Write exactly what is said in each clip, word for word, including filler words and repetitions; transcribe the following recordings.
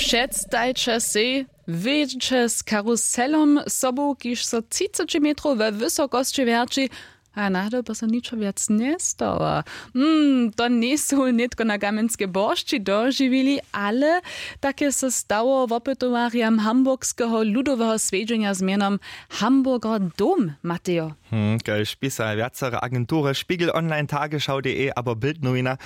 Předstajće sej, wědźeće z karuselom sobu, kiž so třiceći metrow we wysokosći wjerći. A nadobo so ničo wjac njestawa. Mm, to njejsu nětko na kamjenskej boršći dožiwili, ale tak je so stało wopytowarjam hamburgskeho ludoweho swjedźenja z mjenom Hamburger Dom, Matejo. Hmm, kaž pisaja wjacere agentury, Spiegel Online, Tagesschau.de abo Bild Nowina,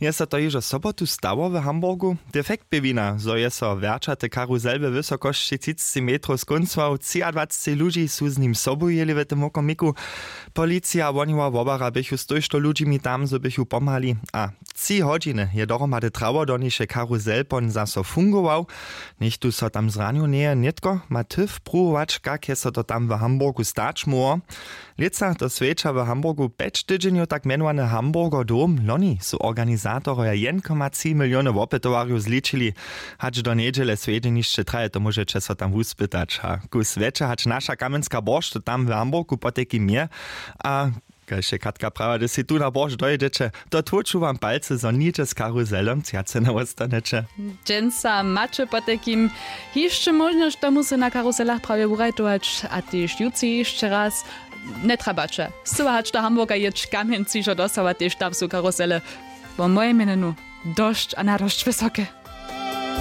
je so to hižo sobotu stało w Hamburgu. Defekt bě wina, zo je so wjerćaty karuzel we wysokosći třiceći metrow skóncował. Třiadwaceći ludźi su z nim sobu jěli w tym wokomiku. Policija a woniła wobara běchu z tójšto ludźimi tam, zo běchu pomhali. A tři hodźiny je dohromady trało, doniž je karuzel pon zaso fungował. Nichtó so tam zranił njeje. Nětko ma ty wpruwować, kak je so to tam w Hamburgu stać móhło. Lětsa to swjeća w Hamburgu pjeć tydźenjow tak mjenowany Hamburger Dom. Loni su organizatoroja jedn koma tři miliony wopytowarjow zličili. Hač do njedźele swjedźenišće traje, to móžeće so tam wuspytać. A kus wjetše hač naša kamjenska boršt tam w Hamburgu potajkim je. A kaž je Katka prawa, hdyž sej tu na boršt dojědźeće, to tłóču wam palcy, zo nihdźe z karuzelom třace njewostaneće. Dźensa maće potajkim hišće móžnosć, tomu so na karuselach prawje wurajtować, a tež jutři hišće raz. Njetrabaće scyła hač do Hamburga jěć, kamjenc hižo dostawa, tež tam su karusele. Wo mojej mjenjenju dosć a nadosć wysoke.